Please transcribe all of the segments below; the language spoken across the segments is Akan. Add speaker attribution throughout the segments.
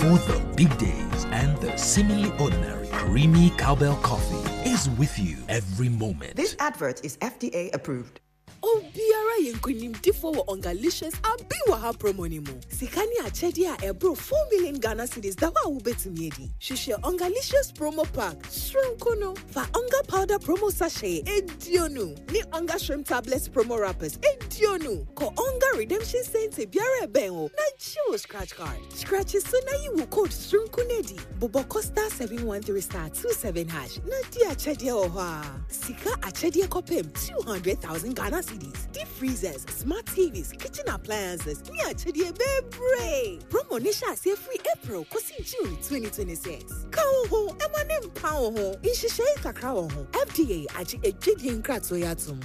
Speaker 1: For the big days and the seemingly ordinary, Creamy Cowbell Coffee is with you every moment.
Speaker 2: This advert is FDA approved.
Speaker 3: Obiara yɛ nkonimdifoɔ wɔ Ongalicious Abi Wɔ Ha promo no mu. Sika ne akyɛdeɛ a ɛboro 4 million Ghana cedis da hɔ a wobɛtumi adi. Hwehwɛ Ongalicious promo pack soronko no. Fa Onga powder promo sachet 20 ne Onga shrimp tablets promo wrappers 20. Kɔ Onga redemption center biara a ɛbɛn wo na gye wo scratch card. Scratch so na yi wo code soronko no adi. Bobɔ kɔ star 713 star 27 hash na di akyɛdeɛ wɔ hɔ a. Sika akyɛdeɛ kɔpem 200,000 Ghana cedis, deep freezers, smart TVs, kitchen appliances ne akyɛdeɛ bebree. Promo no hyɛ aseɛ firi April kɔsi June 2026. Ka wo ho ma ne mpa wo ho. Nhyehyɛe kakra wɔ ho. FDA agye adwadie nkratoɔ yi atom.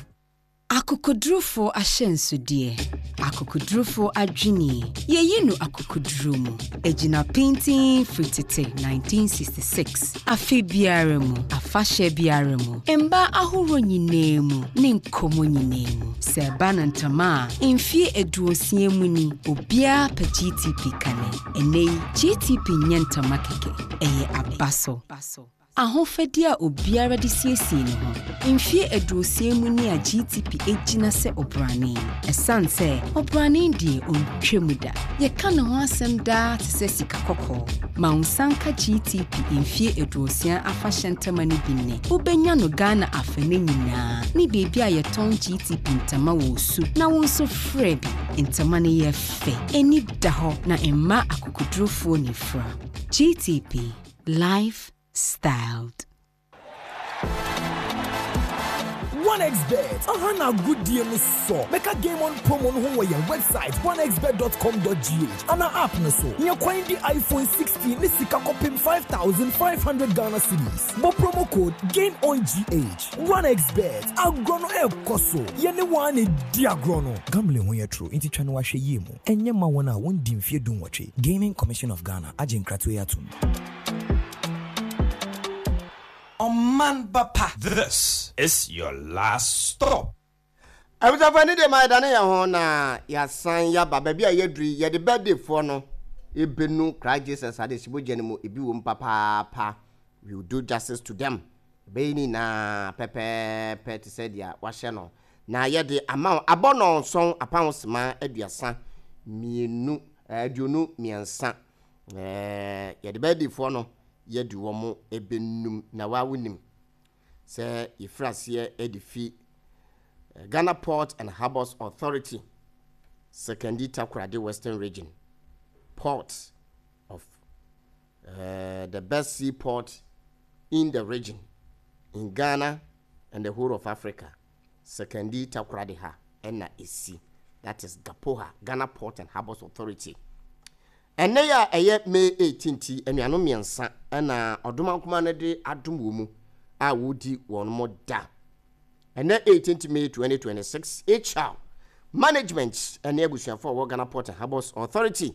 Speaker 4: Akokodurufoɔ ahyɛnsodeɛ, akokodurufoɔ adwenie, yɛyi no akokoduro mu. Ɛgyina pintinn firi tete 1966. Afe biara mu, afahyɛ biara mu, mmaa ahoroɔ nyinaa mu ne nkɔmmɔ nyinaa mu. Sɛ ɛba no ntama a, mfeɛ 60 mu ni, obiara pɛ GTP kane. Ɛnnɛ yi, GTP nyɛ ntama kɛkɛ, ɛyɛ abaso. Ahofadie a obiara de siesie ne ho. Mfeɛ 60 mu ni a GTP gyina sɛ ɔbrane. Ɛsiane sɛ ɔbrane deɛ ɔntwa mu da. Yɛka ne ho asɛm daa te sɛ sika kɔkɔɔ. Ma wo nsa nka GTP mfeɛ 60 afahyɛ ntama no bi nnɛ. Wobɛnya no Ghana afanan nyinaa ne baabi a yɛtɔn GTP ntama wɔ Osu na wo nso frɛ bi. Ntama no yɛ fɛ, ani da hɔ na mma akokodurofoɔ nifura. GTP, life styled.
Speaker 5: 1xBet aha na agodie no sɔ. Bɛka Game On promo no ho wɔ yɛn website 1xbet.com.gh ana app no so. Nyɛ kwan di iPhone 16 ne sika kɔpem 5500 Ghana cedis. Bɔ promo code GameOnGH. 1xBet, agorɔ no ɛrekɔ so. Yɛne wɔn a na di agorɔ no. Gambling ho yɛ toro nti twa no ahwɛ yie mu. Ɛnyɛ ma wɔn a wɔndi mfeɛ 18. Gaming Commission of Ghana agye nkratoɔ yi atom.
Speaker 6: Ɔman ba pa. This is your last stop.
Speaker 7: Abusuafo ɛne deɛ ma yɛdane yɛn ho na yɛasan yɛaba baabi a yɛaduru yi, yɛde birthday foɔ no ɛbɛnu Christ Jesus adesibogya no mu, ebi wɔ mu papaapa, we will do justice to them, ɛbɛyɛ ne nyinaa pɛpɛɛpɛ te sɛ deɛ wahyɛ no na yɛde ama wo, abɔ nɔnson apaho sema 32, 23, yɛde birthday foɔ no yɛde wɔn ɛbɛnum na wa wonim sɛ yɛfiri aseɛ de fi Ghana Port and Harbours Authority, Sekondi Takoradi Western Region, Port of uh, the best seaport in the region, in Ghana and the whole of Africa. Sekondi Takoradi ha ɛna esi. That is GAPOHA, Ghana Port and Harbours Authority. Ɛnnɛ yi a ɛyɛ May 18th yi, anuanom mmiɛnsa na Ɔdomankoma no de adom wɔn mu a wɔredi wɔn da. Ɛnnɛ 18th May 2026, HR Management ne abusuafo a wɔwɔ Ghana Port and Harbours Authority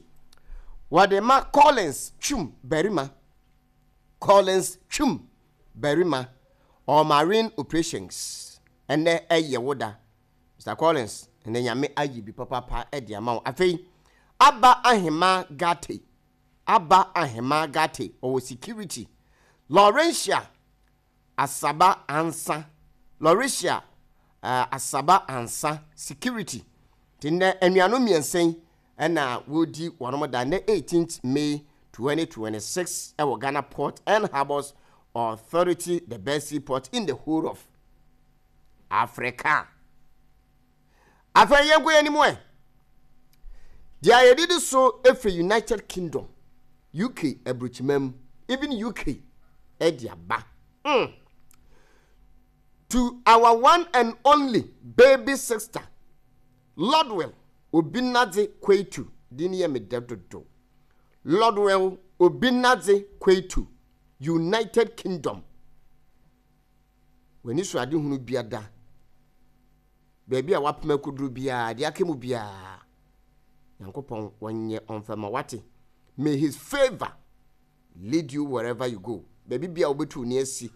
Speaker 7: wɔde ma Collins Twum Barima, Collins Twum Barima, ɔwɔ Marine Operations. Ɛnnɛ ɛyɛ wo da. Mister Collins, ɛnɛ Nyame ayi bi papaapa de ama wo. Afei, Abba Ahema Gate, Abba Ahema Gate, ɔwɔ security. Laurentia Asaba Ansa, Laurentia uh, Asaba Ansa, security. Nti nnɛ anuanom mmiɛnsa yi ɛna wɔredi wɔn da nnɛ 18th May 2026 ɛwɔ Ghana Port and Harbours Authority, the best seaport in the whole of Africa. Afei yɛnkɔ yɛn anim ɛ. Deɛ yɛdidi so firi United Kingdom, UK aburokyima mu, even UK ɛde aba. Mm. To our one and only baby sister, Lordwell Obinadze Kweitu, din yɛ me dɛ dodo. Lordwell Obinadze Kweitu, United Kingdom. W'anisoadehunu biada, baabi a w'apem akoduru biara, deɛ aka mu biara, Nyankopɔn wɔnyɛ ɔmfa ma wate. May his favor lead you wherever you go. Baabi biara wobɛtu wo ni asi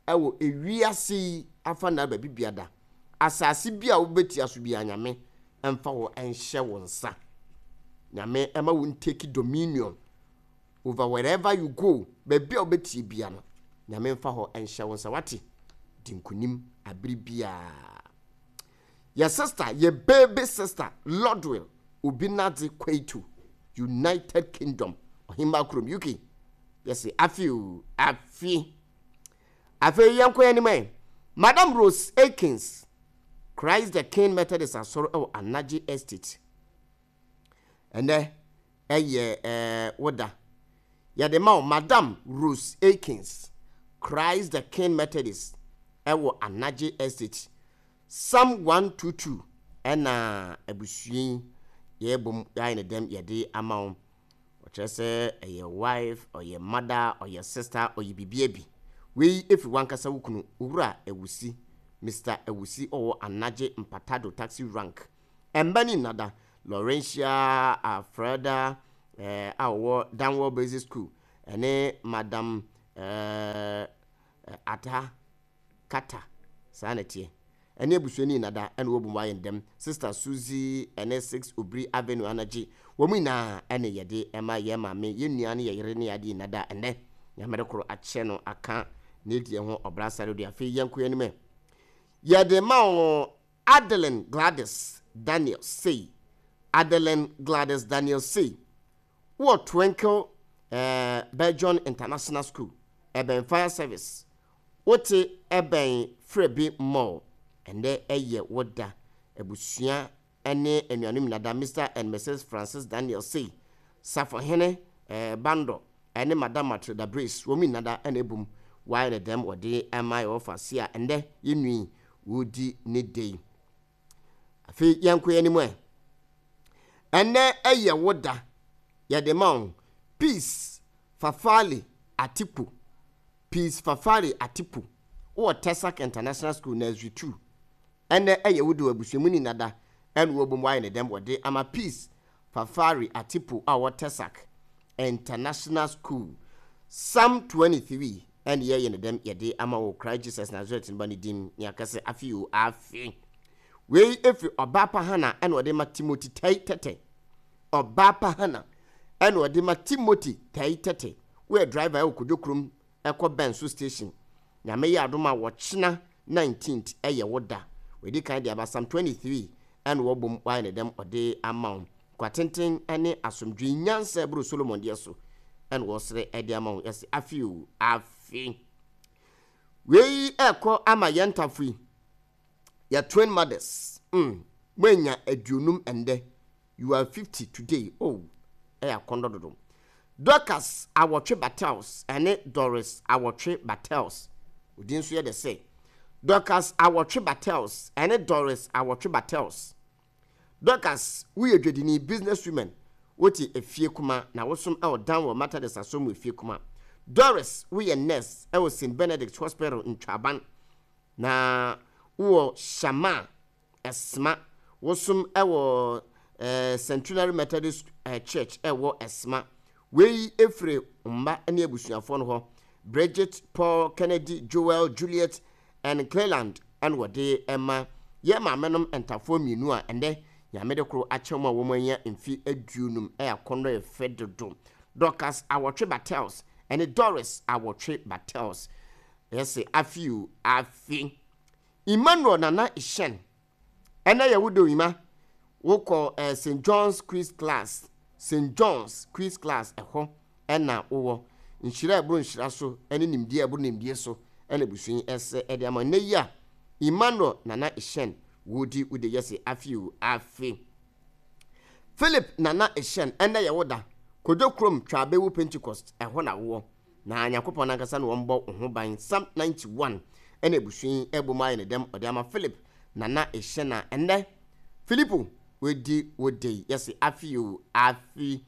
Speaker 7: ɛwɔ ewiase yi afa na baabi biada, asase bi a wobɛtia so biara, Nyame ɛmfa wo ɛnhyɛ wo nsa. Nyame ɛma wo ntake dominion. over wherever you go. Baabi a wobɛtie bia no, Nyame mfa hɔ nhyɛ wo nsa wate. Di nkonim abere biara. Yɛ sister, yɛ baby sister, Lordwill Obinadze Kwaitu, United Kingdom, Ɔhemmaa kurom, UK. Yɛse afe o, afe. Afei yɛnkɔ yɛn anim ɛ. Madam Rose Akins, Christ the King Methodist Asɔre wɔ Anagye Estate. Ɛnɛ ɛyɛ ɛɛ wo da. Yɛde ma wo Madam Rose Akins, Christ the King Methodist ɛwɔ Anagye Estate. Psalm 122 ɛna abusua yi yɛbom yɛayɛ ne dɛm yɛde ama wo. Ɔkyerɛ sɛ ɛyɛ wife, ɔyɛ mother, ɔyɛ sister, ɔyɛ biribiara bi. Wei ɛfiri w'ankasa wo kunu, Owura Awusi, Mister Awusi ɔwɔ Anagye Mpatado Taxi Rank. Ɛmba ni nnada, Laurentia Alfreda eh, a ɔwɔ Danwell Basic School ɛne Madam eh, Ata Kata, saa na ɛteɛ. Ɛne abusuani Nada ɛna wɔbom ayɛ ndɛm, Sister Suzy ɛne 6 Obiri Avenue Anagye, wɔn nyinaa ɛne yɛde ɛma yɛn maame, yɛn nua ne yɛn yere ne yɛn adeɛ Nada ɛnɛ. Nyame de koro akyɛ no aka n'adie ho ɔbra sare do. Afei yɛnkɔ yɛn anim ɛ. Yɛde ma wo Adeline Gladys Daniel sei, Adeline Gladys Daniel sei, wɔ Twinkle eh, Belgian International School, ɛbɛn Fire Service, wote ɛbɛn Frebi Mall, ɛndɛ ɛyɛ wo da, abusua ne anuanom nyinaa da Mister and Misis Francis Daniel sei, Safohene eh, Bandɔ ɛne Madam Matilda Brace, wɔn nyinaa da ɛna ɛbom wɔayɛ ne dɛm wɔde ɛma yɛwɔ fa se a ɛndɛ yɛnui wɔredi ne da yi. Afei yɛnkɔ yɛn anim ɛ. Ɛnnɛ ɛyɛ wo da, yɛde ma wo. Peace Fafali Atiku, Peace Fafali Atiku, wowɔ Tesak International School, Nursery 2. Ɛnnɛ ɛyɛ wo da wɔ abusua mu ni nada ɛna wɔbom wɔayɛ ne dɛm wɔde ama Peace Fafari Atiku a ɔwɔ Tesak International School. Psalm 23 ɛne yɛyɛ ne dɛm yɛde ama wɔ Christ Jesus Nazareth no ba ne din ne akɛse afe o afe. Wei efi ɔbaa pa Hana ɛna ɔde ma Timothy Tai Tɛtɛ. Ɔbaa pa Hana ɛna ɔde ma Timothy Tai Tɛtɛ. Woyɛ driver ɛwɔ Kodwo kurom ɛkɔ Bɛnso station. Nyame yɛ adom a wɔkyena 19th ɛyɛ wo da. Wadi kan de aba Psalm 23 ɛna wɔbom wayɛ ne dɛm ɔde ama wo. Nkwa tenten ɛne asomdwee nyansa ɛboro Solomon deɛ so ɛna wɔsrɛ ɛde ama wo. Yɛse afe o afe. Wei ɛkɔ ama yɛn ntafo yi. Yɛ twin mothers. Moanya 50 ɛndɛ. You are 50 today. Oh, ɛyɛ akɔndɔ dodo. Dorcas Awɔtwe Battles ɛne Doris Awɔtwe Battles. Odin nso yɛ dɛ sɛ. Dorcas Awɔtwe Battles ɛne Doris Awɔtwe Battles. Dorcas, woyɛ dwadini, business woman, wote efie kuma na wosom ɛwɔ Danwell Methodist Asɔr mu efie kuma. Doris, woyɛ nurse ɛwɔ St. Benedict Hospital Ntwaban na wowɔ Shama Ɛsma. Wosom wɔ Centenary Methodist Church ɛwɔ Ɛsma. Wei efiri mma ne abusuafoɔ no hɔ. Bridget, Paul, Kennedy, Joel, Juliet and Cleland ɛna wɔde ɛma yɛn maamenom ntafoɔ mmienu a ɛnɛ Nyame de koro akyɛ wɔn a wɔn anya mfe 50 ɛyɛ akɔnnɔ yɛ fɛ dodo. Dorcas Awɔtwe Battles ɛne Doris Awɔtwe Battles. Yɛse afe o afe. Emmanuel Nana Ishen, ɛnɛ yɛ wo dɔ Ima, wokɔ eh, St. John's Quiz Class, St. John's Quiz Class ɛhɔ ɛna wowɔ. Nhyira a ɛboro nhyira so ɛne nimdeɛ a ɛboro nimdeɛ so ɛna abusua yi ɛsɛ ɛde ama nnɛ yi a Emmanuel Nana Ishen wodi wo de yɛse afe o afe. Philip Nana Ishen, ɛnɛ yɛ wo da. Kojo Krom Twaabewu Pentecost ɛhɔ na wowɔ. Na Nyankopɔn nankasa na ɔmbɔ wo ho ban. Psalm 91 ɛna abusua yi ɛbɔ mu ayɛ ne dɛm ɔde ama Philip Nana Ehyɛn a ɛnnɛ Filipo wadi wo de yi yɛse afe o afe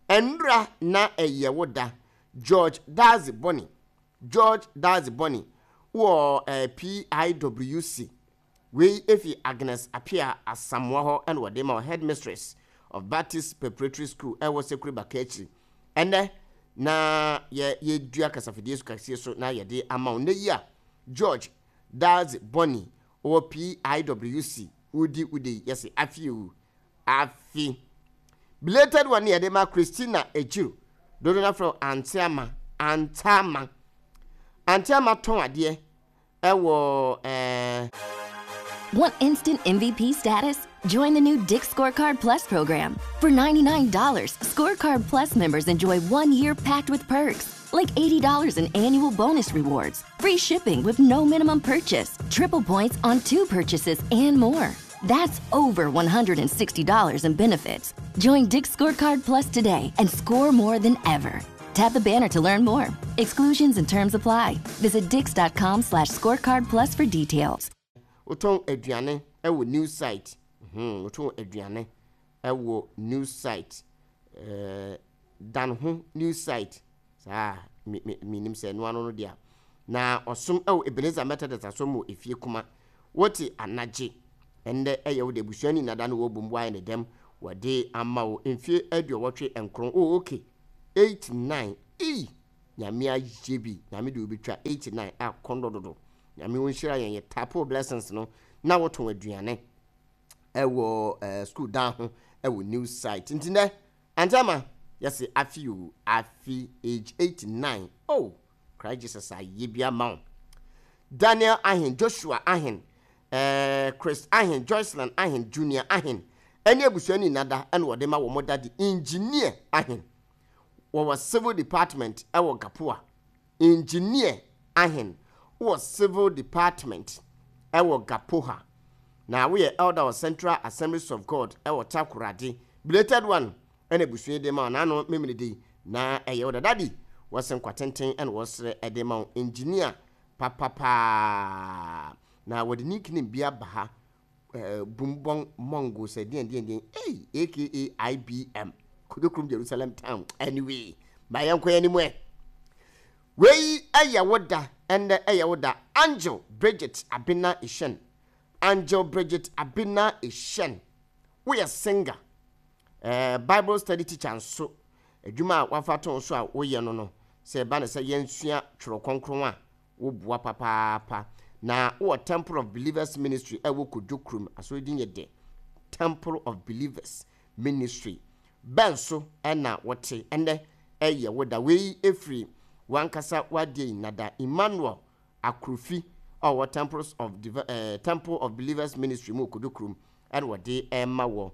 Speaker 7: ɛnora na ɛyɛ wo da George Dadzie Bɔne George Dadzie Bɔne wɔ eh, PIWC Wei fi Agnes Appiah Asamoah hɔ na wɔde ma wo, Headmistress of Baptist Preparatory School ɛwɔ Sekure Bakakyiri. Ɛnnɛ na yɛ yɛdua kasafidie so kasie so na yɛde ama wo. Nnɛ yi a George Dadzie Bonney ɔwɔ PIWC wodi wo de yi yɛse afe o afe. Belated one ne yɛde ma Christina Ejiro. Dodo no afrɛ wo Ante Ama, Ante Ama. Ante Ama tɔn adeɛ ɛwɔ ɛɛ.
Speaker 8: Want instant MVP status? Join the new Dick's Scorecard Plus program. For $99, Scorecard Plus members enjoy one year packed with perks, like $80 in annual bonus rewards, free shipping with no minimum purchase, triple points on two purchases, and more. That's over $160 in benefits. Join Dick's Scorecard Plus today and score more than ever. Tap the banner to learn more. Exclusions and terms apply. Visit dix.com slash scorecard plus for details.
Speaker 7: Wotɔn aduane wɔ new site. Hmm, wotɔn aduane wɔ new site. Eh, dan ho new site. Saa, me me menim sɛ ɛno ano no deɛ. Na ɔsom wɔ Ebenezer Methodist asɔr mu wɔ efie kuma. Wote anagye. Ɛndɛ ɛyɛ wo de abusua ni nada no wɔbom wɔayɛ ne dɛm wɔde ama wo mfie aduɔwɔtwe nkron. Oh, okay. 89 ei Nyame ayɛ bi Nyame de obetwa 89 a kɔndɔ dodo Nyame onhyira yɛn yɛ tapo blessings no na wotɔn aduane ɛwɔ eh, school dan ho ɛwɔ new site nti nɛ Auntie Ama yɛse afi o afi age 89 oh Christ Jesus ayɛ bi ama wo Daniel Ahen Joshua Ahen eh, Chris Ahen Joycelyn Ahen Junior Ahen ɛne abusua ni nada ɛna wɔde ma wɔn dade Engineer Ahen wɔwɔ Civil Department ɛwɔ Gapoa Engineer Ahen wɔ Civil Department ɛwɔ Gapoha na woyɛ Elder wɔ Central Assemblies of God ɛwɔ Takoradi belated one ɛna abusua yi de ma wo naano Memeneda yi na ɛyɛ wo da Daddy wɔse nkwa tenten ɛna wɔsrɛ ɛde ma wo Engineer papapaa na wɔde nickname bi aba ha eh, Bumbong Mongo sɛ deɛn deɛn deɛn ei aka IBM Kodokrom Jerusalem Town anyway ma yɛnkɔ yɛn anim ɛ wei ɛyɛ wo da ɛndɛ ɛyɛ wo da Angel Bridget Abena Eshen Angel Bridget Abena Eshen woyɛ singer eh, Bible study teacher nso adwuma a wafa to so a woyɛ no no sɛ ɛba ne sɛ yɛnsua twerɛ kronkron a Woboa papaapa. Na wowɔ Temple of Believers Ministry a ɛwɔ Kodwo kurom. Asɔre din yɛ dɛ. Temple of Believers Ministry. Bɛn so na wote? Ɛnnɛ ɛyɛ wo da. Wei firi w'ankasa w'adeɛ yi nada. Emmanuel Akrofi a ɔwɔ Temples of eh, Temple of Believers Ministry mu wɔ Kodwo kurom ɛna wɔde ɛrema wɔ.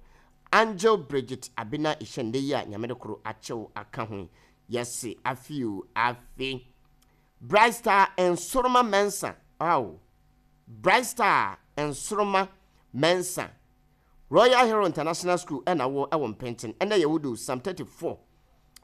Speaker 7: Angel Bridget Abena Ehyɛn nnɛ yi a Nyame de koro akyɛw aka ho yi. Yɛse afe o, afe. Bright Star Nsoroma Mensah ao Bright Star Nsoroma Mensah Royal Hero International School ɛna wɔ ɛwɔ Mpenten ɛna yɛ wodo Psalm 34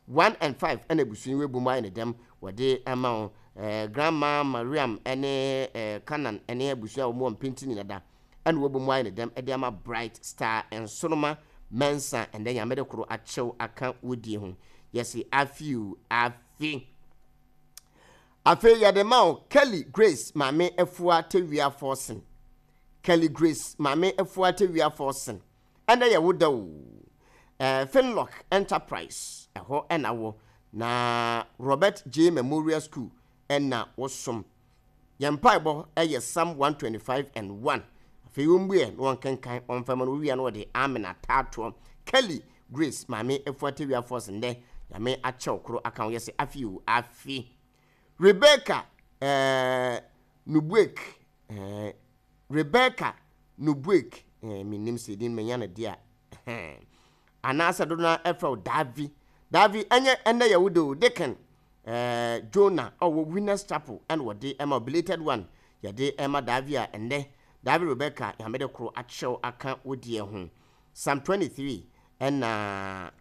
Speaker 7: 1 and 5 ɛna abusua yi wɔ mu ayɛ ne dɛm wɔde ɛma wo eh, Grandma Mariam ɛne eh, Canaan ɛne abusua a wɔn wɔ Mpenten nyina da ɛna wɔbɔ mu ayɛ ne dɛm ɛde ama Bright Star Nsoroma Mensah ɛnɛ Nyame de koro akyɛw aka wodie ho yɛse afi o afi. Afei yɛde ma wo Kelly Grace Maame Afua Tawia Forson. Kelly Grace Maame Afua Tawia Forson. Ɛnɛ yɛ wo da o. Eh, Finlock Enterprise, ɛhɔ ɛna wɔ. Na Robert J. Memorial School ɛna wosom. Yɛn mpaebɔ yɛ Psalm 125 and 1. Afei wɔmmuɛ na wɔnkenkan wɔmfa ma no wɔwia na wɔde amen ataatoɔ. Kelly Grace Maame Afua Tawia Force ndɛ Nyame akyɛw koro aka ho yɛse afe o afe. Rebecca eh, Nubuek eh, Rebecca Nubuek eh, mennim sɛ din manya no deɛ a eh, anaasɛ dodo no ara ɛfrɛ wo Davi Davi ɛnyɛ ɛndɛ yɛ wo de o Deacon Eh, Jonah ɔwɔ Winners Chapel ɛna wɔde ɛma belated one yɛde ɛma Davi a ɛnnɛ Davi Rebecca Nyame de koro akyerɛw aka wo deɛ ho Psalm 23 ɛna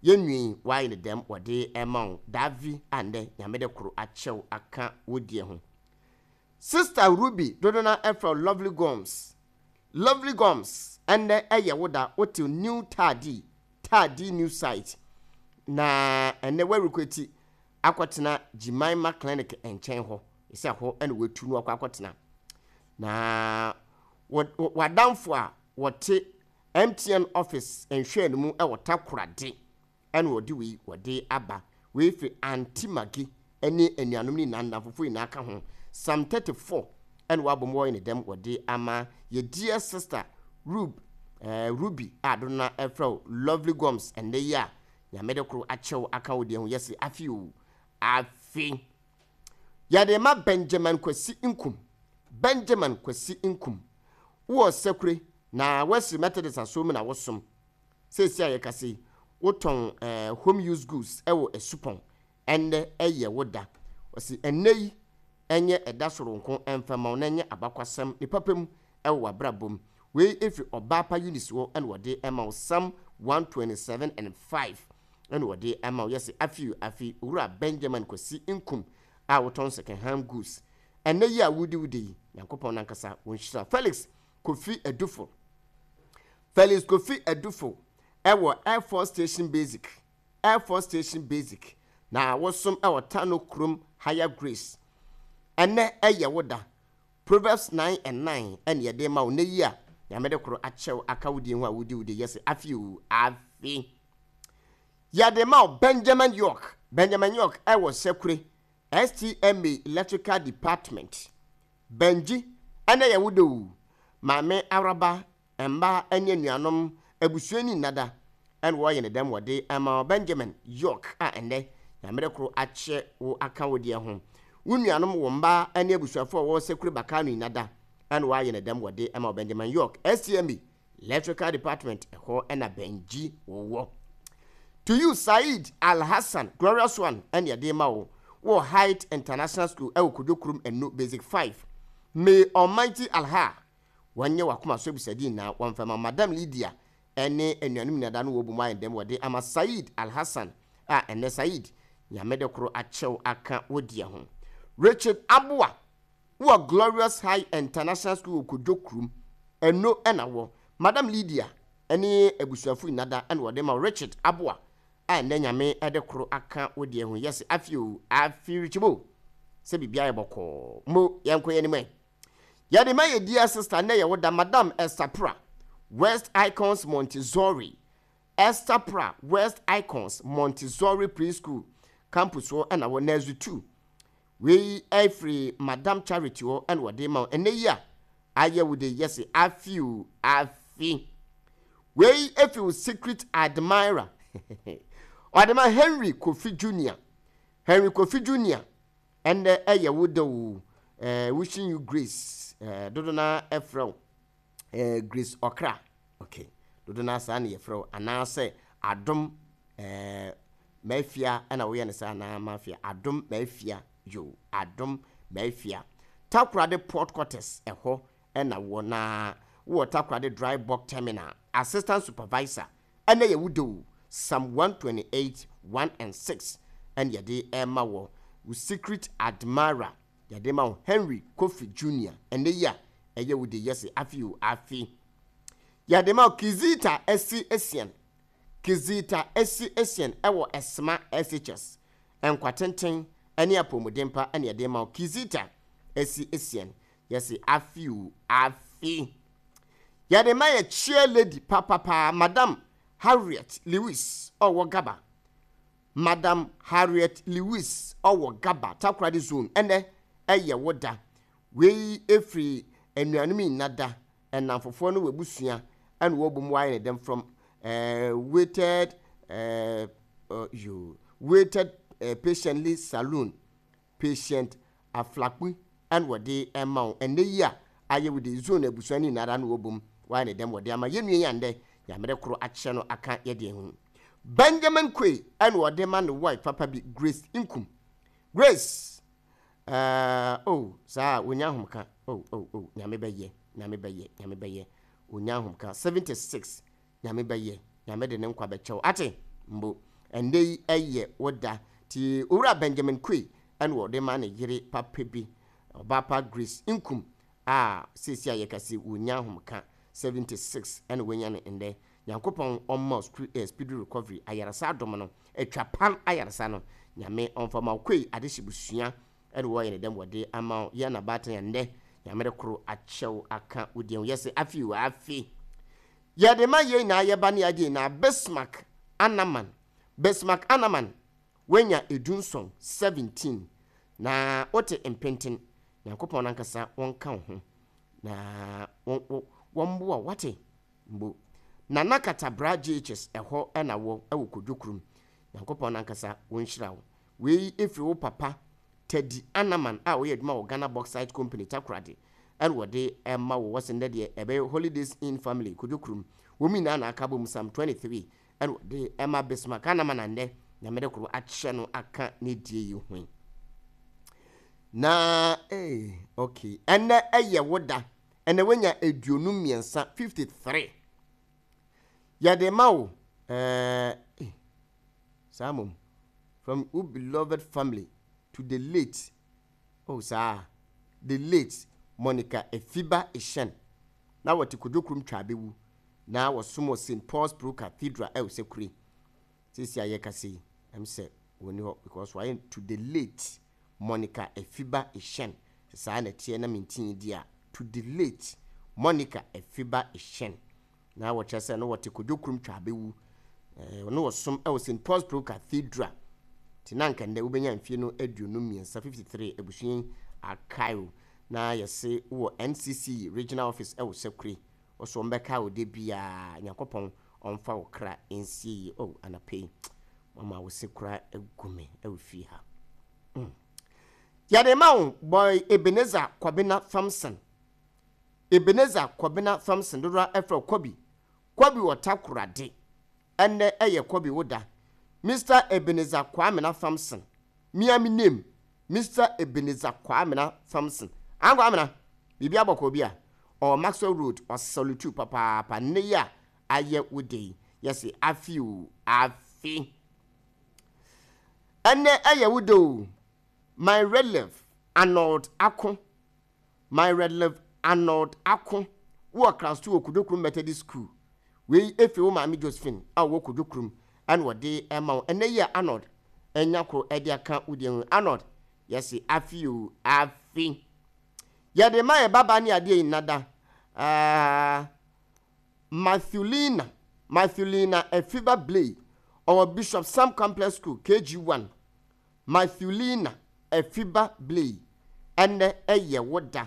Speaker 7: yɛnwi wayɛ ne dɛm wɔde ɛma wo Davi a nnɛ Nyame de koro akyerɛw aka wo deɛ ho Sister Ruby dodo na ɛfrɛ wo Lovely Goms Lovely Goms ɛnnɛ ɛyɛ wo da wote new taadi Taadi New Site, na ɛnnɛ wɔarekwati akɔtena Jemima Clinic nkyɛn hɔ, sɛ hɔ na wɔatu no akɔ akɔtena. Na w'adamfo a wɔte MTN office nhwɛɛ no mu wɔ Takoradi ɛna wɔde wei wɔde aba. Wei firi Aunty Maggie ne anuanom ne nyinaa nnamfofo nyinaa ka ho. Psalm 34 ɛna wɔabɔ mu wɔyɛ ne dɛm wɔde ama yɛ dear sister Rub, eh, Ruby a dodo no ɛfrɛ wo Lovely Goms ɛnnɛ yi a. Nyame de koro akyɛ wo aka wo deɛ ho yɛse afe oo afe. Yɛde ma Benjamin Kwasi Nkum Benjamin Kwasi Nkum wowɔ Sekure na Wesley Methodist asɔr mu na wosom. Seesei a yɛkasa yi wotɔn eh, home use goods wɔ Asupɔn. Ɛnnɛ ɛyɛ wo da. Ɔse ɛnnɛ yi ɛnyɛ ɛda soronko ɛmfa mma wo na ɛnyɛ abakwasɛm ne papa mu wɔ w'abrabɔ mu. Wei ɛfiri Ɔbaapa Eunice hɔ na wɔde ɛma wo Psalm 127 and 5 na wɔde ɛma wo. Yɛse afe o afe Owura Benjamin Kwasi Nkum a wotɔn second hand goods. Ɛnnɛ yi a wodi wo da yi, Nyankopɔn nankasa ɔnhyira wo. Felix Kofi Adufo Felix Kofi Adufo ɛwɔ Air Force Station Basic Air Force Station Basic na wosom wɔ Tano kurom Higher Grace. Ɛnnɛ ɛyɛ wo da. Proverbs 9 and 9 ɛne yɛde rema wo nnɛ yi a Nyame de koro akyɛ wo aka wo din ho a wodi wo de yɛse afe oo afe. Yɛde ma wo Benjamin York Benjamin York ɛwɔ Sekure STMA Electrical Department. Benji ɛnnɛ yɛ wo da oo. Maame Awuraba Mma ne anuanom, abusua ni nnada na wɔyɛ no dɛm wɔde ama wo Benjamin York a ɛnnɛ Nyame koro akyɛ wo aka wo deɛ ho. Wo nuanom, wo mma ne abusuafoɔ a wɔwɔ Sekure Bakano nnada na wɔayɛ no dɛm wɔde ama wo Benjamin York, STMB, Electrical Department, ɛhɔ na Benji wɔ. To you Saeed Alhassan, Glorious One na yɛde ma wo wɔ Height International School ɛwɔ Kojo Kurom Anu Basic 5. May Almighty Alha Wɔnyɛ w'akoma so abisade nyinaa, wɔmfa mma Madam Lydia ne anuanom nyinaa da no wɔbu mu ayɛ dɛm wɔde ama Saeed Alhassan a ɛnnɛ Saeed Nyame de koro akyɛw aka wo deɛ ho. Richard Aboah wɔ Glorious High International School wɔ Kodwo kurom, ɛno na wɔ Madam Lydia ne abusuafo nyinaa da na wɔde ma Richard Aboah a ɛnnɛ Nyame de koro aka wo deɛ ho. Yɛse afe oo afe Richie bo sɛ biribiara yɛ bɔkɔɔ mo yɛnkɔ yɛn anim ɛ. Yɛde ma yɛ dear sister nnɛ yɛ wo da Madam Esther Pra, West Icons Montessori, Esther Pra, West Icons Montessori Preschool Campus hɔ ɛna wɔ Nursery 2. Wei ɛfiri Madam Charity hɔ ɛna wɔde ma wo ɛnnɛ yi a ayɛ wo de yɛse afi o afi. Wei ɛfiri wo secret admirer ɔde ma Henry Kofi Junior, Henry Kofi Junior Ɛndɛ ɛyɛ wo dɛ oo eh, wishing you grace eh, dodo na ɛfrɛ wo eh, Grace Ɔkra okay, dodo na saa na yɛfrɛ wo anaasɛ Adom eh, Mafia ɛna woyɛ no saa anaa Mafia Adom Mafia yo Adom Mafia Takoradi Port Quarters ɛhɔ ɛna wɔ na wowɔ Takoradi Dry Bulk Terminal Assistant Supervisor Ɛnɛ yɛ wo dɛ o, Psalm 128, 1 and 6 ɛna yɛde rema wɔ, wo secret admirer yɛde rema wo Henry Kofi Junior ɛnɛ yi a ɛyɛ wo de yɛse afe o afe. Yɛde ma wo Kizita Asi Asian, Kizita Asi Asian ɛwɔ Ɛsema SHS, nkwa tenten ɛne apɔmuden pa ɛna yɛde rema wo Kizita Asi Asian yɛse afe o afe. Yɛde ma yɛ chair lady papapaa Madam Harriet Lewis ɔwɔ Gaba Madam Harriet Lewis ɔwɔ Gaba Takoradi zone ɛnɛ ɛyɛ wo da Wei ɛfiri anuanom nyina da ɛnamfofoɔ ne w'abusua ɛna wɔbɔ mu ayɛ ne dɛm from eh, waited eh, uh, you waited eh, patiently saloon Patient Aflakpu na wɔde rema wo ɛnnɛ yi a ayɛ wo de zone abusua no nyinara na wɔbom wɔayɛ ne dɛm wɔde ama yɛn nua yi a ndɛ Nyame de koro akyɛ no aka yɛ deɛ ho Benjamin Quay na wɔde ma ne wife papa bi Grace Nkum Grace eh oh saa wɔnya ahomka oh oh oh Nyame bɛyɛ Nyame bɛyɛ Nyame bɛyɛ wɔnya ahomka 76 Nyame bɛyɛ, Nyame de ne nkwa bɛkyɛ wo, ate? Mbo, ɛndɛ yi ɛyɛ wo da. Nti Owura Benjamin Quay ɛna ɔde ma ne yere papa bi, Ɔbaapa Grace Nkum a seesei a yɛka se wɔnya ahomka, 76 ɛna wanya no ndɛ. Nyankopɔn ɔmma wo speedy recovery, ayaresa adom no, atwa pan ayaresa no, Nyame ɔmfa ma wo. Quay adehye busua ɛna wɔyɛ ne dɛm wɔde ama wo, yɛ na baatan a ndɛ Nyame de koro akyɛ wo aka wo deɛ ho, yɛse afe o afe. Yɛde ma yɛn nyinaa yɛba ne yɛagye nyinaa Bismarck Anaman Bismarck Anaman Woanya edunson, 17, na wote mpenten Nyankopɔn nankasa wɔnka wo ho na wɔmboa wo wate mbo Nana Katabra JHS ɛhɔ na wɔ ɛwɔ Kodwo kurom. Nyankopɔn nankasa wɔnhyira wo. Wei ɛfiri wo papa Teddy Anaman a ɔyɛ adwuma wɔ Ghana Bauxite Company Takoradi ɛna wɔde ɛma wo. Wɔse nnɛ deɛ ɛbɛyɛ Holidays Inn Family Kojo Kurom. Wɔn nyinaa na aka abom Psalm 23 ɛna wɔde ɛma Bismarck Anaman a nnɛ Nyame de koro akyɛ no aka ne die yi ho yi. Na eh, okay, ɛnnɛ ɛyɛ wo da. Ɛnnɛ woanya 53, 53. Yɛde ma wo eh, eh, saa mmom. From wo beloved family to the late, oh saa, the late Monica Efiba Eshen. Na wɔte Kodwokurom Twaabewu. Na wɔsom wɔ St. Paul's Pro Cathedral ɛwɔ Sekure. Seesei a yɛkasa yi, ɛm sɛ wɔnni hɔ because wɔayɛ to the late Monica Efiba Eshen. Sɛ saa na ɛteɛ na mentee di a, to the late Monica Efiba Eshen. Na wɔkyerɛ sɛ na wɔte Kojo Kurom Twaabewu. Eh, na wɔsom wɔ St. Paul's Pro Cathedral. Nti na anka nnɛ wobɛnya mfie no 53, 53, abusua yi akae wo. Na yɛse wowɔ NCC Regional Office wɔ Sakure. Wo so wɔbɛkae wo da biara. Nyankopɔn ɔmfa wo kra nsie yie. Oh, anɔpa yi, mama wo se kora agu me wɔ fie ha. Yɛde ma wo, boy Ebenezer Kwabena Thompson. Ebenezer Kwabena Thompson, dodoɔ ara frɛ wo Kwabi. Kwabi wɔ Takoradi. Ɛnnɛ ɛyɛ Kwabi wo da. Mister Ebenezer Kwamena Thompson. Me ara me name, Mister Ebenezer Kwamena Thompson. An Kwamena, biribi abɔkɔɔ bi a? Ɔwɔ Maxwell Road, ɔsalute wo papaapa. Nnɛ yi a ayɛ wo da yi, yɛse afe o, afe. Ɛnnɛ ɛyɛ wo da o, my releve Arnold Ako. My Rev. Arnold Ako wɔ Class Two wɔ Kojo Kurom Methodist School. Wei firi wo maame Josephine a ɔwɔ Kojo Kurom ɛna ɔde ɛma wo. Ɛnɛ yi a Arnold anya koro ɛde aka wo deɛ ho. Arnold, yɛse afe o, afe. Yɛde ma yɛ babaa ne adeɛ yi nnada. Ah, Mathewlina, Mathewlina Afiba Blay, ɔwɔ Bishop Sam Complex School, KG1. Mathewlina Afiba Blay, ɛnnɛ ɛyɛ wo da.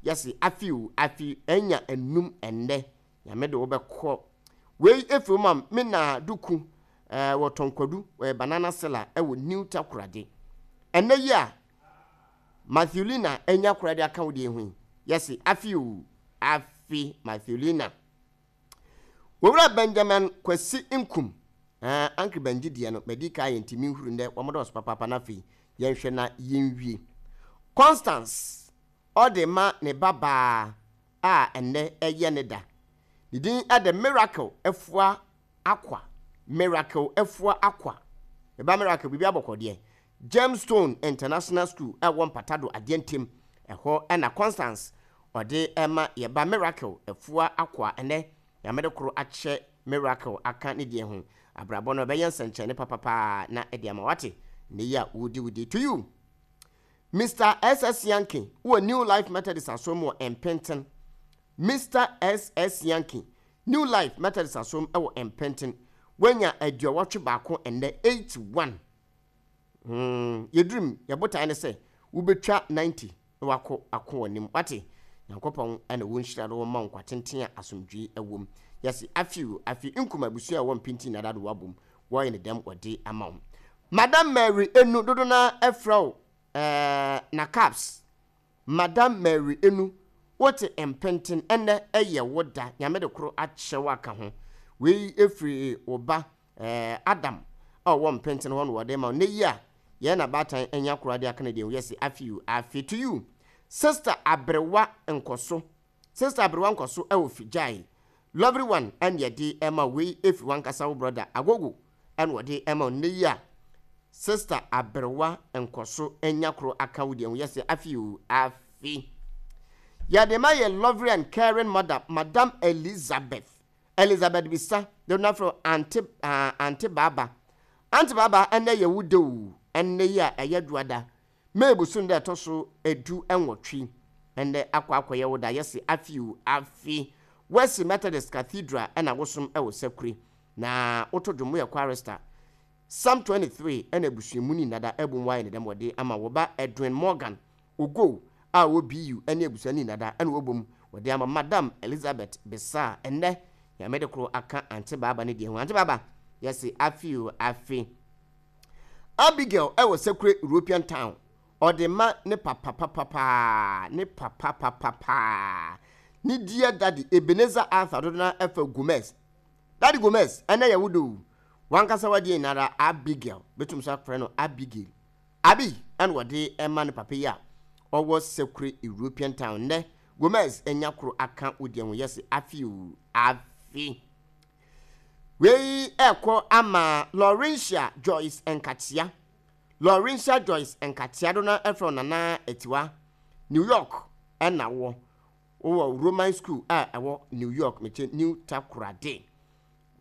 Speaker 7: Yɛse afe o, afe anya anum ɛnnɛ. Nyame de wo bɛkɔ. Wei ɛfiri wo mam me na Duku eh, wɔ Tɔnkwadu, wɔyɛ banana seller ɛwɔ New Takoradi. Ɛnnɛ yi a Mathewlina anya koraa de aka wo deɛ ho yi, yɛse afe o, afe Mathewlina. Owura Benjamin Kwasi Nkum, eh, Uncle Benji deɛ no, madi kan ayɛ nti menhuru nnɛ, wɔn dɔɔso papaapa na afei yɛnhwɛ na yɛnwie. Constance, ɔde ma ne ba baa a ɛnnɛ ɛyɛ ne da. Ne din de Miracle Afua Akwa, Miracle Afua Akwa. Me ba Miracle, biribi abɔkɔ deɛ. Gemstone International School ɛwɔ Mpatado Adeɛ Ntem, ɛhɔ na Constance ɔde ma yɛ ba Miracle Afua Akwa ɛnɛ Nyame de koro akyɛ Miracle aka ne deɛ ho. Abrabɔ no ɛbɛyɛ nsɛnkyerɛnne papapaa na ɛde ama wate nnɛ yi a wodi wo day to you. Mister SS Yankee wɔ New Life Methodist Asɔr mu wɔ Mpenten. Mister SS Yankee, New Life Methodist Asɔr mu wɔ Mpenten. Wanya 81 ɛnnɛ, 81. Hmm, yɛdurum, yɛ botae ne sɛ wobɛtwa 90 na wakɔ ako w'anim. Wate? Nyankopɔn na wɔnhyira no wɔma wo nkwa tenten a asomdwoe wom. Yɛse afe o, afe nkum abusua a ɛwɔ mpenten na dado wabom, wɔyɛ ne dɛm wɔde ama wo. Madam Mary Enu, dodo no ara frɛ wo eh, na caps. Madam Mary Enu, wote mpenten, ɛnnɛ ɛyɛ wo da, Nyame de koro akyɛ wo aka ho. Wei firi wo ba Eh, Adam a ɔwɔ mpenten hɔ na wɔde ma wo. Nnɛ yi a yɛn na baatan anya koraa de aka no deɛ, yɛse afe o, afe to you. Sister Aberewa Nkɔso, Sister Aberewa Nkɔso ɛwɔ Figyae. Lovely one ɛna yɛde ɛma wo. Wei ɛfiri wankasa wo brother Agogo ɛna wɔde ɛma wo. Nnɛ yi a Sister Aberewa Nkɔso anya koro aka wo deɛ ho, yɛse afe o, afe. Yɛde ma yɛ lovely and caring mother, Madam Elizabeth Elizabeth Bisa de no afrɛ Ante ah Ante Baaba Ante Baaba ɛnnɛ yɛ wo da o Ɛnnɛ yi a ɛyɛ dwoada May bosom da ɛtɔ so 18 Ɛnnɛ akɔ akɔyɛ wo da Yɛse afe o afe Wesley Methodist Cathedral ɛna wosom ɛwɔ Sakure Na woto dwom woyɛ chorister Psalm 23 ɛna abusua mu ni nnada ɛbom woayɛ ne dɛm wɔde ama wo ba Edwin Morgan Ogow a ɔwɔ BU ne abusua no nyinaa da na wɔbom wɔde ama Madam Elizabeth Besah ɛnnɛ Nyame de koro aka Ante Baaba ne deɛ ho. Ante Baaba, yɛse afe o afe. Abigail ɛwɔ Sekure European Town, ɔde ma ne papa papapaa, ne papa papapaa, ne dear daddy Ebenezer Arthur dodo no ara ɛfɛ Gomez. Daddy Gomez, ɛnɛ yɛ wo da o. Wankasa w'adeɛ nyinara Abigail, bɛtum nso afrɛ no Abigail. Abi ɛna ɔde ɛma ne papa yi a ɔwɔ Sekure European Town. Nnɛ Gomez anya koro aka wo deɛ ho yɛse afe o, afe. Wei ɛkɔ ama Laurentia Joyce Nkatia. Laurentia Joyce Nkatia do na ɛfrɛ wo Nana Atiwa. New York ɛna wɔ. Wowɔ Roman School a ɛwɔ New York, mekyɛ New Takoradi.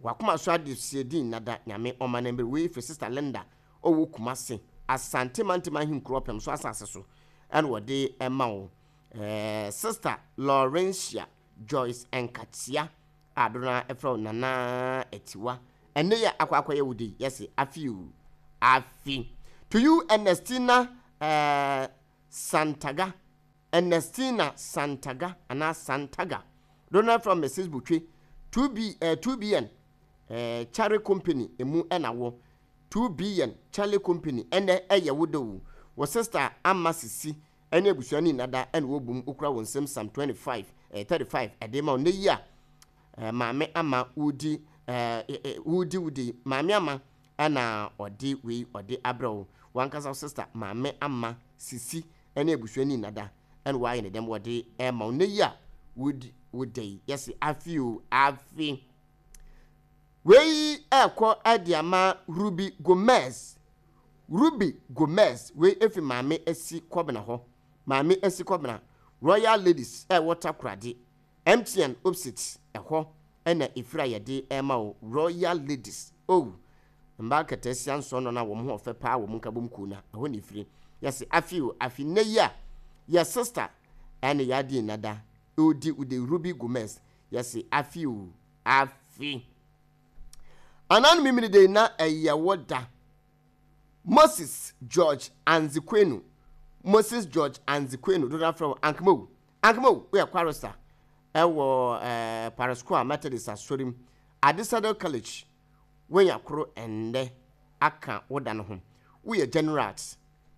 Speaker 7: Wakoma so adesoa din nada Nyame ɔma no mber. Wei firi Sister Linda ɔwɔ Kumasi, Asante Mantam Ahenkuro Ɔpem so asase so ɛna wɔde ɛma wo. Eh, Sister Laurentia Joyce Nkatia a dodoɔ no ara frɛ wo Nana Atiwa. Ɛnnɛ yi a akɔ akɔyɛ wo de yi, yɛse afe o, afe. To you Ernestina eh, Santaga, Ernestina Santaga anaa Santaga, dodoɔ no ara frɛ wo Mrs. Botwe, 2B, eh, 2BN eh, Chare Company emu ɛna wɔ. 2BN Charlie Company ɛnnɛ ɛyɛ wo de o. Wo sister Ama Sisi ɛne abusua no nyina da ɛna wɔbom wokura wɔn nsam Psalm 25 eh, 35 ɛde ma wo nnɛ yi a eh, maame ama wodi eh, eh, wodi wodi maame ama ɛna ɔde wei ɔde abrɛ wo wankasa wo sister maame ama sisi ɛne abusua no nyina da ɛna wɔayɛ ne dɛm wɔde ɛma wo nnɛ yi a wodi woda yi yɛse afe o afe wei ɛkɔ ɛde ama Ruby Gomez Ruby Gomez, wei efi Maame Asi Kɔbena hɔ, Maame Asi Kɔbena, Royal Ladies a ɛwɔ Takoradi, MTN opsit ɛhɔ na efiri a yɛde rema wo, Royal Ladies, oh, mmaa nkataasia nsɔnnɔ no a wɔn ho ɔfɛ paa wɔ mo nkabom kuo no a, ɛhɔ na efiri. Yɛse afe o, afe nnɛ yi a yɛ sister ɛne yɛ adeɛ nnada, odi wode Ruby Gomez, yɛse afe o, afe. Anan Memeneda yi na ɛyɛ wo da. Moses George Anzikwenu Moses George Anzikwenu dodoɔ afrɛ wo Ankemawu Ankemawu woyɛ chorister ɛwɔ eh, Parasquare Methodist Asɔre mu Adisadel College woanya koro ɛnnɛ aka wo da no ho woyɛ General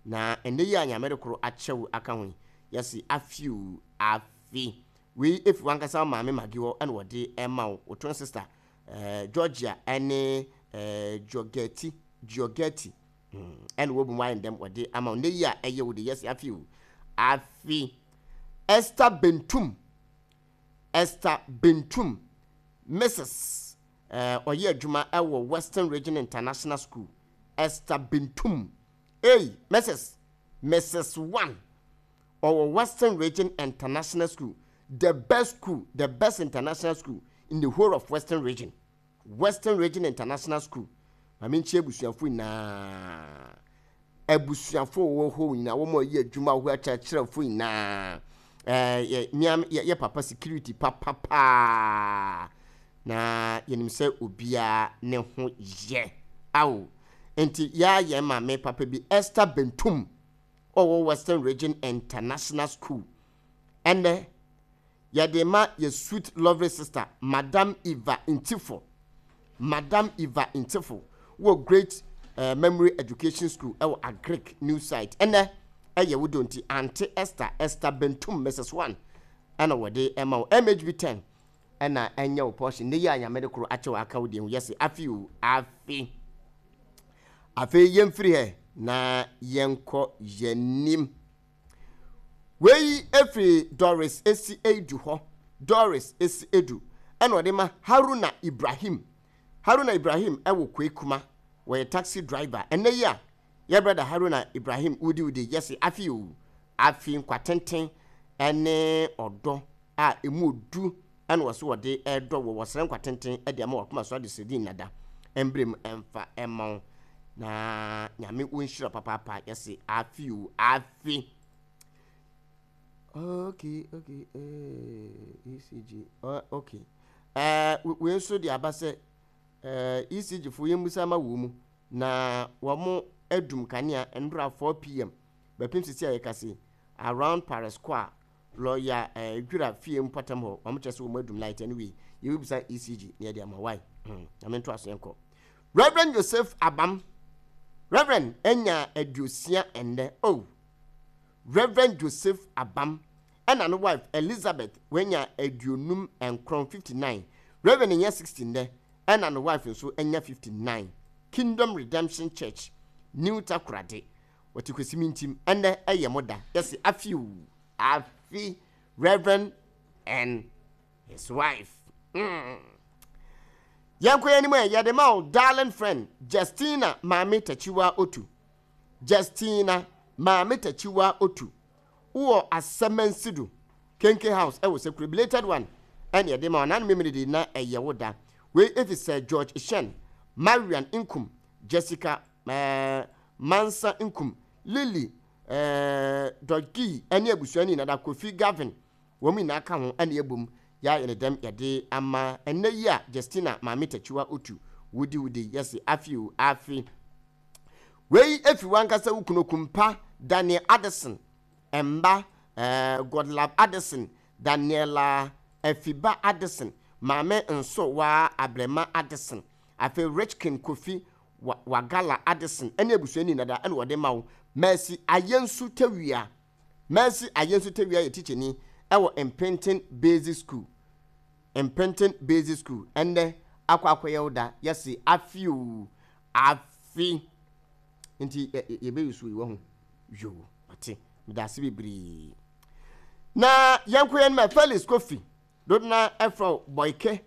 Speaker 7: na ɛnnɛ yi a Nyame de koro akyɛ wo aka ho yi yɛse afe o afe wei efi wankasa wo maame Maggie hɔ ɛna wɔde ɛma wo wo twin sister eh, Georgia ɛne eh, Giorgetti, Giorgetti, mm, ɛna wɔbu mu ayɛ ndɛm wɔde ama wo. Nnɛ yi a ɛyɛ wo de yɛsi afi o. Afi Esther Bentum, Esther Bentum, Mrs. Eh, ɔyɛ adwuma ɛwɔ Western Region International School. Esther Bentum, ei, Mrs. Mrs. One, ɔwɔ Western Region International School, the best school, the best international school in the whole of Western Region. Western Region International School. Maame nkyia abusuafo nyinaa. Abusuafo wɔ hɔ nyinaa, wɔn a wɔyɛ adwuma wɔ hɔ, akyerɛkyerɛfo nyinaa. Ɛɛ yɛ mia yɛ yɛ papa security papapaa. Na yɛnim sɛ obiara ne ho yɛ. Awo. Nti yɛa yɛn maame papa bi Esther Bentum ɔwɔ Western Region International School. Ɛnnɛ, yɛde ma yɛ sweet lovely sister Madam Eva Ntifo. Madam Eva Ntifo wɔ Great eh, Memory Education School ɛwɔ Agric New Site. Ɛnnɛ, ɛyɛ wo dɔ nti, Auntie Esther, Esther Bentum, Mrs. One, ɛna wɔde ɛma wo. MHB 10 ɛna ɛnyɛ wo portion. Nnɛ yi a Nyame de koro akyɛ wo aka wo deɛ ho, yɛse afe o, afe. Afei yɛmfiri hɛ na yɛnkɔ yɛnim. Wei firi Doris Esi Edu hɔ. Doris Esi Edu ɛna ɔde ma Haruna Ibrahim. Haruna Ibrahim ɛwɔ Kwekuma. Wɔyɛ taxi driver. Ɛnɛ yi a yɛ brother Haruna Ibrahim wodi wodi yɛse afi o afi nkwatenten ɛne ɔdɔ a emu odu ɛna wɔse wɔde ɛdɔ wɔ wɔsrɛ nkwa tenten ɛde ama wakoma so adesrɛdi nnada ɛmbrɛ mu ɛmfa ɛma wo na nyame wo nhyira papaapa yɛse afe o afe okay okay eh, ECG uh, okay eh, wei nso de aba sɛ eh, ECG fo yɛmmusa ma wɔ mu na wɔn adum kanea ndora 4 pm bɛpem sisi a yɛkase around Paris Square Lɔya eh, Dwira fie mpɔtam hɔ, wɔn kyerɛ sɛ wɔn adum light anyway, yɛbɛbisa ECG na yɛde ama why. Hmm, na mento aso yɛnkɔ. Reverend Joseph Abam, Reverend anya 60 ɛnnɛ oh. Reverend Joseph Abam ɛna ne wife Elizabeth wanya 59, 59. Reverend anya 60 nnɛ ɛna ne wife nso anya 59. Kingdom Redemption Church, New Takoradi. Wɔte Kwesi Mintim, ɛnnɛ ɛyɛ mo da. Yɛse afi o, afi Reverend and his wife. Yɛnkɔ yɛn anim ɛ, yɛde ma wo darling friend Justina Maame Takyiwa Otu. Justina Maame Takyiwa Otu. Wowɔ Asɛmansido, Kenke House ɛwɔ Sekure, belated one ɛne yɛde ma wo. Nanu Memene de na ɛyɛ wo da. Wei efi Sir George Shen, Marian Nkum, Jessica eh, Mansa Nkum, Lily eh, Dodgi ɛne abusua ne nyinaa da Kofi Gavin wɔn nyinaa ka ho ɛna yɛbom yɛayɛ ne dɛm yɛde ama ɛnnɛ yi a Justina Maame Takyiwa Otu wodi wodi yɛse afe o afe. Wei efi wankasa wo kunu Okumpa Daniel Addison mba eh, Godlove Addison, Daniela Afiba Addison, Maame Nso Waa Abrema Addison, afei Richkin Kofi Wagala Addison ɛne abusua ni nada ɛna wɔde ma wo Mercy Ayensu Tawia. Mercy Ayensu Tawia yɛ tikyani ɛwɔ Mpenten Basic School. Mpenten Basic School ɛnnɛ akɔ akɔyɛ wo da yɛse afe o afe nti yɛbɛyi so yi wahu yoo mate meda ase bebree na yɛnkɔ yɛn ma Felix Kofi dodona ɛfrɛ Boyke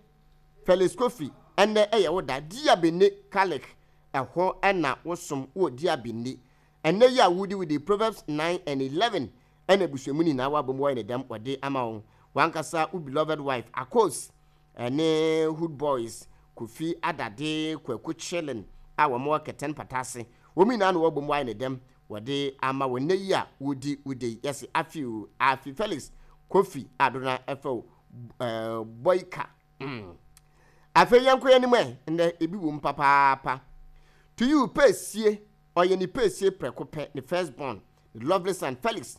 Speaker 7: Felix Kofi ɛnnɛ ɛyɛ wo da Diabene Kalik ɛhɔ ɛna wosom wɔ Diabene Ɛnnɛ yi a wodi wo di Proverbs 9 and 11 ɛna abusua mu nyinaa w'abom wɔyɛ ne dɛm wɔde ama wo w'ankasa wo beloved wife Akos ɛne Hood Boys Kofi Adade Kwaku Chilling a wɔn wɔ Kɛtɛn Pata ase wɔn nyinaa na wɔabom wɔayɛ ne dɛm wɔde ama wo nnɛ yi a wodi wo de yi yɛse afi o afi Felix Kofi Adona ɛfɛ o ɛɛ Boyka mm. Afei yɛnkɔ yɛn anim ɛ nnɛ ebi wom papaapa to you pɛsie Ɔyɛ ne pɛsie prɛko pɛ, ne first born, ne lovely son Felix.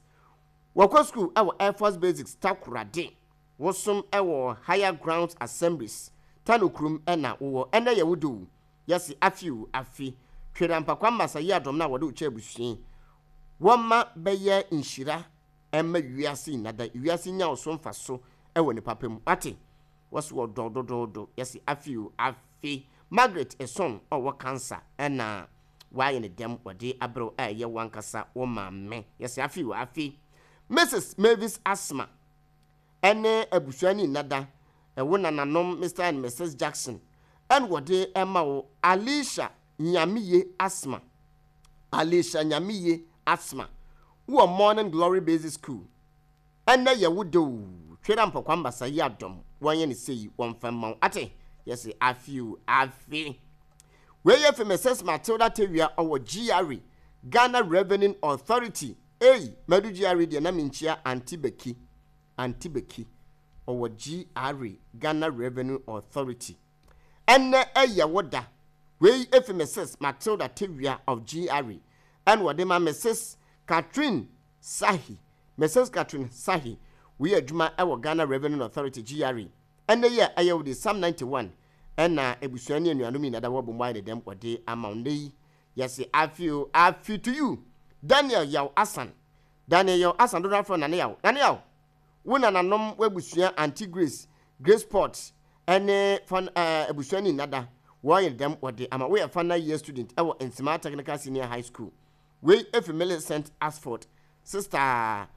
Speaker 7: Wɔkɔ sukuu wɔ Air Force Basics Takoradi. Wosom wɔ Higher Grounds Assemblies, Tano kurom na wowɔ. Ɛnnɛ yɛ wo da o, yɛse afe o, afe. Twere ampa Kwame Masa yi adɔm no a wɔde wo kyɛ abusua yi. Wɔmma bɛyɛ nhyira mma wiase nyina da. Wiase nya wo so mfaso wɔ ne papa mu. Wate? Wɔse wɔdɔ wo dodoodo. Yɛse afe o, afe. Margaret Eson a ɔwɔ cancer na wayɛ ne dɛm wɔde abrɛ wo a ɛyɛ wankasa wo maame. Yɛse afe o, afe. Mrs Mavis Asma ɛne abusua ne nnada, wo nananom Mr and Mrs Jackson ɛna wɔde ɛma wo Alicia Nyameye Asma. Alicia Nyameye Asma wowɔ Morning Glory Basic School. Ɛnnɛ yɛ wo dɛ oo, Twera Mpɔkwa Mbasa yi adɔm, wɔnyɛ no sei, wɔmfa mma wo, ate? Yɛse afe oo, afe. Wei yɛ fi Mrs Matilda Tawia ɔwɔ GRA, Ghana Revenue Authority, ei, madu GRA deɛ na menkyia Auntie Becky, Auntie Becky, ɔwɔ GRA, Ghana Revenue Authority. Ɛnnɛ ɛyɛ wo da. Wei fi Mrs Matilda Tawia of GRA, ɛna wɔde ma Mrs Catherine Sahi, Mrs Catherine Sahi, woyɛ adwuma wɔ Ghana Revenue Authority, GRA. Ɛnnɛ yi a ɛyɛ wo de, Psalm 91 na abusua ne anuanom nyinaa da wɔabom ayɛ ne dɛm wɔde ama wo. Nnɛ yi, yɛse afe o, afe to you! Daniel Yaw Asan, Daniel Yaw Asan, dodoɔ afrɛ wo Nane Yaw. Nane Yaw, wo nananom, w'abusua, Auntie Grace, Grace Port, ne fan, eh, abusua ne nyinaa da wɔayɛ ne dɛm wɔde ama wo. Woyɛ final year student wɔ Nsemaa Technical Senior High School. Wei efi Millicent Asford, sister.